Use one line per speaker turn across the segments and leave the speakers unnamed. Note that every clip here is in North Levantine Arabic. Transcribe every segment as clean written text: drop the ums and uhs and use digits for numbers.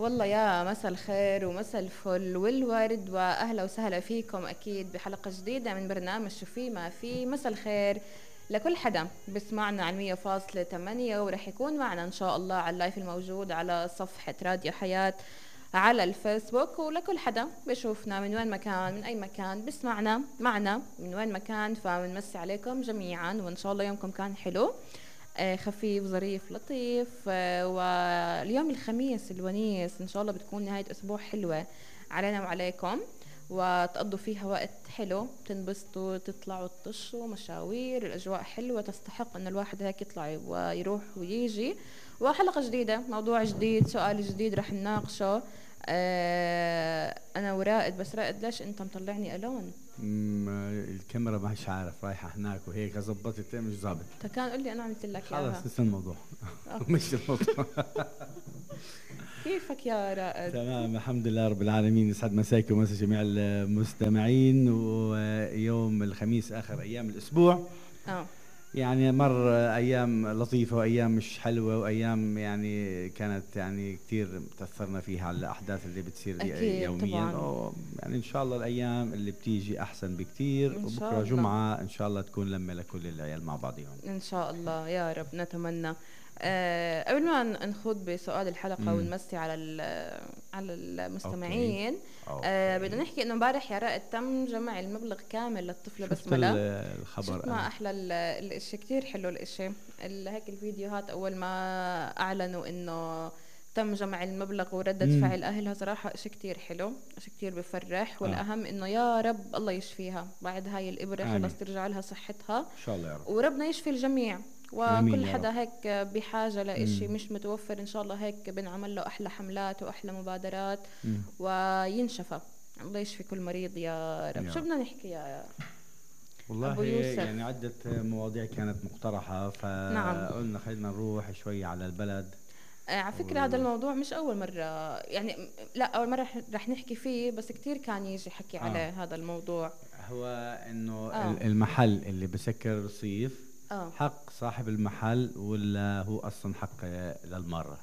والله يا مساء الخير ومساء الفل والورد، واهلا وسهلا فيكم اكيد بحلقه جديده من برنامج شو في ما في. مساء الخير لكل حدا بسمعنا على 100.8، ورح يكون معنا ان شاء الله على اللايف الموجود على صفحه راديو حياه على الفيسبوك، ولكل حدا بشوفنا من وين مكان من اي مكان بسمعنا معنا من وين مكان، فبنمسي عليكم جميعا وان شاء الله يومكم كان حلو خفيف ظريف لطيف. واليوم الخميس الونيس ان شاء الله بتكون نهاية اسبوع حلوة علينا وعليكم، وتقضوا فيها وقت حلو، تنبسطوا تطلعوا تطشوا مشاوير، الاجواء حلوة تستحق ان الواحد هيك يطلع ويروح ويجي. وحلقة جديدة، موضوع جديد، سؤال جديد رح نناقشه. انا ورائد، بس رائد ليش انت مطلعني الون؟
الكاميرا مش عارف رايحه هناك وهيك ظبطت مش ظابط.
كان قل لي انا عملت لك اياها.
خلص لسه الموضوع مش الموضوع.
كيفك يا رائد؟
تمام الحمد لله رب العالمين. يسعد مساكم ومسا جميع المستمعين. ويوم الخميس اخر ايام الاسبوع يعني مر ايام لطيفه وايام مش حلوه وايام يعني كانت يعني كثير تاثرنا فيها على الاحداث اللي بتصير يوميا. يعني ان شاء الله الايام اللي بتيجي احسن بكثير، وبكره جمعه ان شاء الله تكون لمه لكل العيال مع بعضهم ان
شاء الله يا رب نتمنى. قبل ما نخوض بسؤال الحلقه ونمسي على المستمعين، بدنا نحكي انه امبارح يا رائد تم جمع المبلغ كامل للطفله بسمله.
الخبر
ما احلى الاشي، كتير حلو الاشي. هيك الفيديوهات اول ما اعلنوا انه تم جمع المبلغ وردة فعل اهلها، صراحه اشي كتير حلو، اشي كتير بفرح. والاهم انه يا رب الله يشفيها بعد هاي الابره، خلص ترجع لها صحتها ان
شاء الله يا رب،
وربنا يشفي الجميع. وكل حدا هيك بحاجة لإشي مش متوفر إن شاء الله هيك بنعمل له أحلى حملات وأحلى مبادرات وينشفى. الله يشفي كل مريض يا رب. شو بدنا نحكي يا
والله أبو يوسف؟ يعني عدة مواضيع كانت مقترحة، فقلنا خلينا نروح شوي على البلد.
على فكرة هذا الموضوع مش أول مرة، يعني لا أول مرة رح نحكي فيه، بس كتير كان يجي حكي عليه هذا الموضوع.
هو إنه المحل اللي بسكر الرصيف حق صاحب المحل ولا هو أصلا حق للمرة؟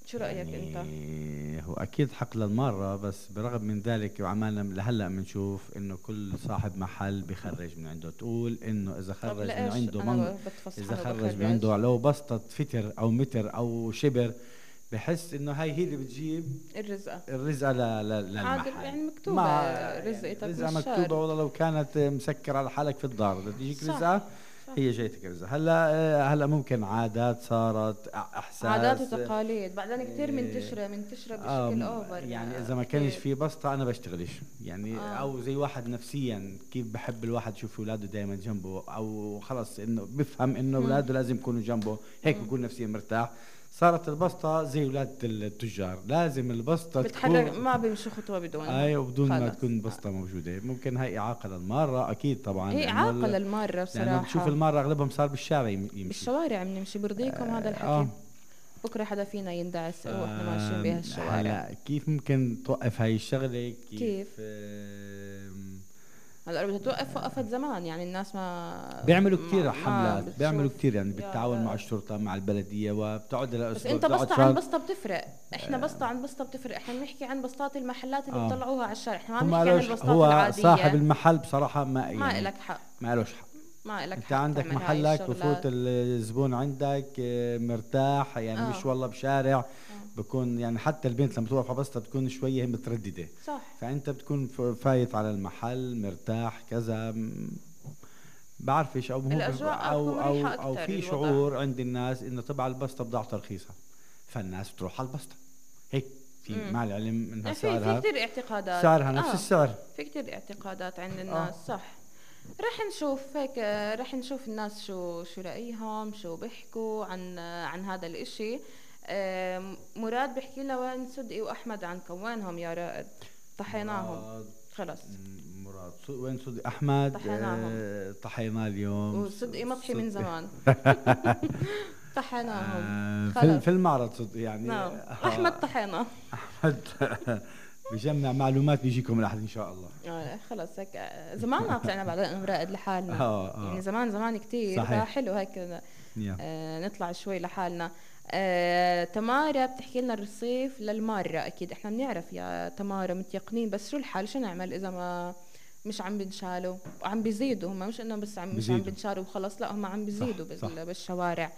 شو رأيك
يعني
أنت؟
هو أكيد حق للمرة، بس برغم من ذلك وعمالنا لهلأ بنشوف إنه كل صاحب محل بخرج من عنده. تقول إنه إذا خرج من عنده إذا خرج من عنده لو بسطة فتر أو متر أو شبر، بحس إنه هاي هي اللي بتجيب الرزقة للمحل.
يعني مكتوبة رزقتك
رزقة مكتوبة. والله لو كانت مسكر على حالك في الدار تجيك رزقة، هي جايتك رزقة. هلا ممكن عادات صارت، احساس،
عادات وتقاليد بعدين كثير منتشره بشكل اوفر.
يعني اذا ما كانش في بسطه انا بشتغلش يعني او زي واحد نفسيا كيف بحب الواحد يشوف اولاده دائما جنبه، او خلص انه بفهم انه اولاده لازم يكونوا جنبه، هيك بكون نفسيا مرتاح. صارت البسطة زي ولاد التجار، لازم البسطة
بتحرك، ما بيمشي خطوة بدونها.
وبدون ما تكون بسطة موجودة. ممكن هاي إعاقة للمارة أكيد طبعا،
هي إعاقة للمارة بصراحة،
لأنه بتشوف المارة أغلبهم صار بالشارع يمشي،
بالشوارع بنمشي. برضيكم هذا الحكي؟ بكرة حدا فينا يندعس وإحنا ماشيين بها الشوارع.
كيف ممكن توقف هاي الشغلة؟
كيف؟ هلا بدها توقف، وقفت زمان. يعني الناس ما
بيعملوا كتير حملات، بيعملوا كتير يعني بالتعاون مع الشرطة مع البلدية، وبتقعد لأسبوع.
بس انت بسطة عن بسطة بتفرق، احنا بسطة عن بسطة بتفرق. احنا بنحكي عن بسطات المحلات اللي بيطلعوها على الشارع، احنا ما بنحكي عن البسطات العادية.
صاحب المحل بصراحة
ما إلك حق،
ما إلوش حق،
ما إلك
انت
حق.
عندك محلك بفوت الزبون عندك مرتاح يعني مش والله بشارع. بكون يعني حتى البنت لما توقف على بسطة بتكون شوية مترددة،
صح.
فأنت بتكون فايت على المحل مرتاح كذا، بعرفش أو في شعور عند الناس إنه طبعا البسطة بضاعة رخيصة، فالناس بتروح على البسطة هيك. في مع العلم إنها
سعرها في كتير اعتقادات،
سعرها نفس السعر.
في كتير اعتقادات عند الناس صح. رح نشوف هيك، رح نشوف الناس شو رأيهم، شو بيحكوا عن هذا الاشي. مراد بيحكي لنا وين صدقي واحمد عنكم، وينهم يا رائد؟ طحيناهم خلص.
مراد وين صدقي احمد؟
طحيناهم،
طحيناه اليوم.
وصدقي مطحي من زمان. طحيناهم
في المعرض صدقي يعني.
نعم. احمد طحيناه.
احمد بجمع معلومات بيجيكم الاحد ان شاء الله.
خلص هيك زمان ما طلعنا بعد رائد لحالنا. يعني زمان كتير حلو هيك نطلع شوي لحالنا. تمارا بتحكي لنا الرصيف للمارة. أكيد إحنا بنعرف يا تمارا متيقنين، بس شو الحال؟ شو نعمل إذا ما مش عم بنشالوا وعم بيزيدوا؟ هم مش إنه بس مش عم بنشالوا وخلص، لا هم عم بيزيدوا بالشوارع.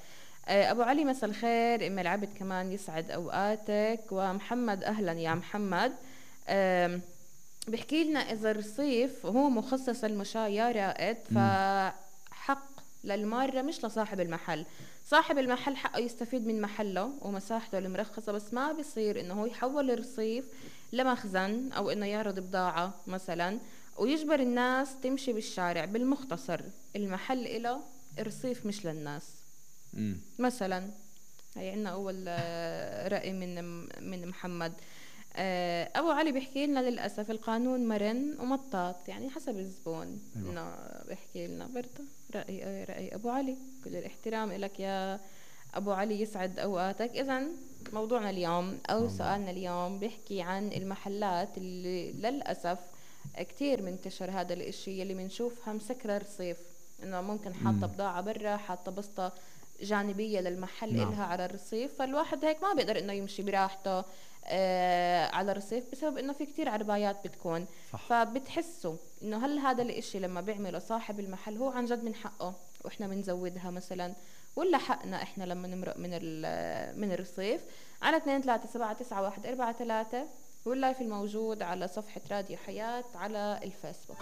أبو علي مساء الخير. أم العبد كمان يسعد أوقاتك. ومحمد أهلا يا محمد. بحكي لنا إذا الرصيف هو مخصص للمشاة يا رائد، فحق للمارة مش لصاحب المحل. صاحب المحل حقه يستفيد من محله ومساحته المرخصة، بس ما بيصير إنه هو يحول الرصيف لمخزن أو إنه يعرض بضاعة مثلا ويجبر الناس تمشي بالشارع. بالمختصر المحل إله، الرصيف مش للناس. مثلا هي عنا أول رأي من محمد. أبو علي بيحكي لنا للأسف القانون مرن ومطاط، يعني حسب الزبون. إنه بيحكي لنا برضه رأي أبو علي. كل الاحترام لك يا أبو علي، يسعد أوقاتك. إذن موضوعنا اليوم أو سؤالنا اليوم بيحكي عن المحلات اللي للأسف كتير منتشر هذا الاشي اللي منشوفها مسكرة رصيف، إنه ممكن حاطة بضاعة برا، حاطة بسطة جانبية للمحل إلها على الرصيف، فالواحد هيك ما بيقدر إنه يمشي براحته على الرصيف بسبب إنه في كتير عربايات بتكون. فبتحسوا إنه هل هذا الاشي لما بيعمله صاحب المحل هو عن جد من حقه وإحنا بنزودها مثلا، ولا حقنا إحنا لما نمرق من الرصيف؟ على 2379143 واللايف الموجود على صفحة راديو حياة على الفيسبوك.